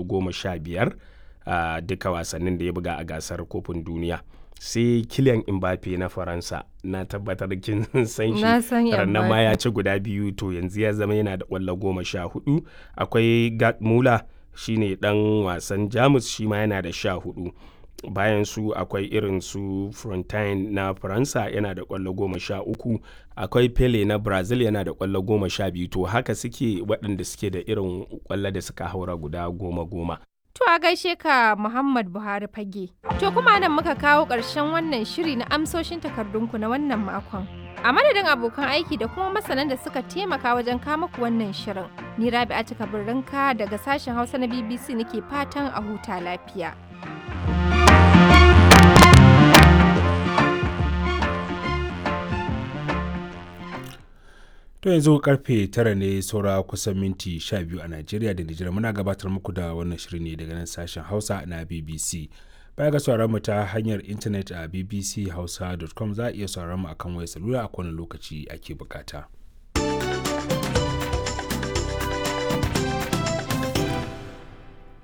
15 a duka wasannin da ya buga a gasar kofin duniya. Sai Kylian Mbappe na Faransa, na tabbatar kin san shi. Na san Rannan ma ya Mbappe. ci guda biyu, to yanzu ya zama yana da ƙwallo 14. Akwai Gerd Müller, shi ne ɗan wasan Jamus, shi ma yana da 14. Bayan su akwai irin su Frontine na Faransa yana da ƙwallo 13. Akwai Pele na Brazil yana da ƙwallo 12. To haka suke waɗanda suke da irin ƙwallo da suka haura guda goma goma. To a gaishe ka, Muhammad Buhari Fage. To kuma nan muka kawo ƙarshen wannan shiri na amsoshin takardunku na wannan makon. A madadin abokan aiki da kuma masanan da suka taimaka wajen kama ku wannan shirin. Ni Rabi'a Kabirrinka daga sashen Hausa na BBC nake fatan a huta lafiya. To yanzu karfe 9 ne saura kusan minti 12 a Najeriya da Nijar. Muna gabatar muku da wannan shirin ne daga nan sashen Hausa na BBC. Baya ga sauraron mu ta hanyar intanet a bbchausa.com, za a iya sauraron mu akan wayar salula a kowane lokaci ake bukata.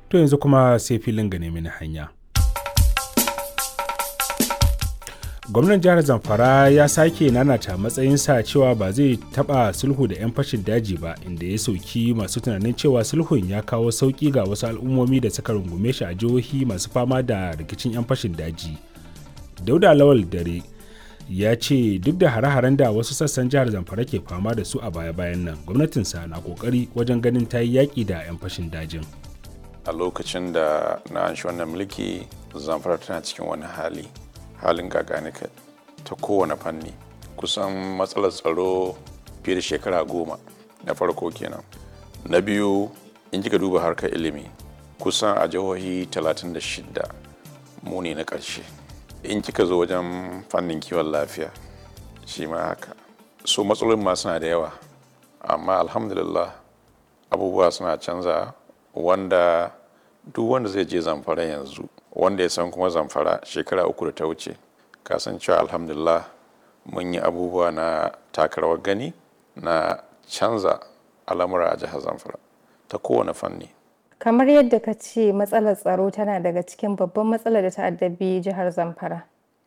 To yanzu kuma sai filin gane mini hanya. Gwamnan jihar Zamfara ya sake nanata matsayinsa cewa ba zai taba sulhu da 'yan fashin daji ba, inda ya sauki masu tunanin cewa sulhun ya kawo sauki ga wasu al'ummomi da suka rungume shi a jihohi masu fama da rikicin 'yan fashin daji. Dauda Lawal Dare ya ce duk da hare-haren da wasu sassan jihar Zamfara ke fama da su a baya-bayan nan, gwamnatinsa na kokari wajen ganin ta yi yaƙi da 'yan fashin dajin. A lokacin da na anshi wannan mulki, Zamfara tana cikin wani hali, halin gaganika ta kowane fanni. Kusan matsalar tsaro fiye da shekara 10 na farko kenan. Na biyu, in kika duba harkar ilimi, kusan a jihohi 36 mu ne na ƙarshe. In kika zo wajen fannin kiwon lafiya, shi ma haka. So matsalolin ma suna da yawa, amma alhamdulillah abubuwa suna canza, wanda duk wanda zai je Zamfara yanzu, wanda ya san kuma Zamfara shekara 3 da ta wuce, kasan cewa alhamdulillah mun yi abubuwa na taka rawar gani na canza al'amura a jihar Zamfara ta kowane fanni. Kamar yadda ka ce, matsalar tsaro tana daga cikin babban matsalar da ta addabi jihar Zamfara.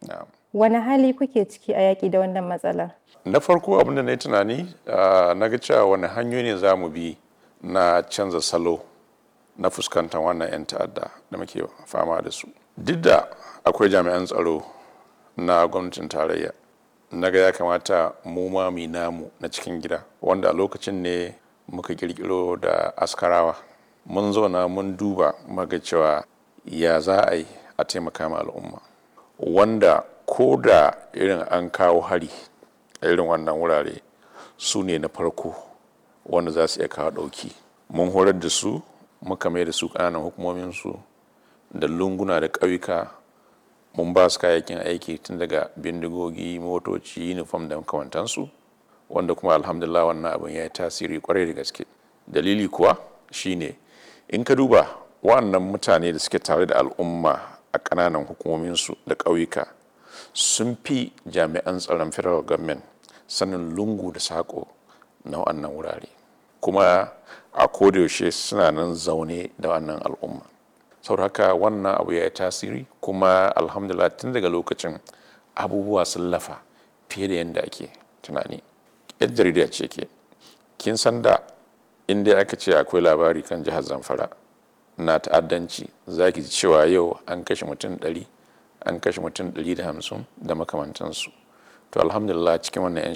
Na'am. Wani hali kuke ciki a yaƙi da wannan matsalar? Na farko, abin da na yi tunani, na ga cewa wani hanyoyi ne za mu bi na canza salo na fuskantar wannan 'yan ta'adda da muke fama da su. Duk da akwai jami'an tsaro na gwamnatin tarayya, na ga ya kamata mu ma mu yi namu na cikin gida, wanda a lokacin ne muka kirkiro da askarawa. Mun zauna mun duba muka cewa ya za a yi a taimaka ma al'umma, wanda ko da irin an kawo hari a irin wannan wurare, su ne na farko wanda za su iya kawo ɗauki. Mun horar da su, muka mai da su ƙananan hukumominsu da lunguna da ƙauyuka. Mun ba su kayayyakin aiki tun daga bindigogi, motoci, uniform da makamantansu, wanda kuma alhamdulillah wannan abin ya yi tasiri kwarai da gaske. Dalili kuwa shine, in ka duba wannan mutane da suke tare da al'umma a ƙananan hukumominsu da ƙauyuka, sun fi jami'an tsaron federal government sanin lungu da saƙo na wannan wurare, kuma a kodayaushe suna nan zaune da wannan al'umma. Saboda haka wannan abu ya yi tasiri, kuma alhamdulillah tun daga lokacin abubuwa sun lafa fiye da yadda ake tunani. Yar jarida ce ke, kin san da inda aka ce akwai labari kan jihar Zamfara na ta'addanci, za ki ji cewa yau an kashe mutum 100, an kashe mutum 150 da makamantansu. To alhamdulillah cikin wannan 'yan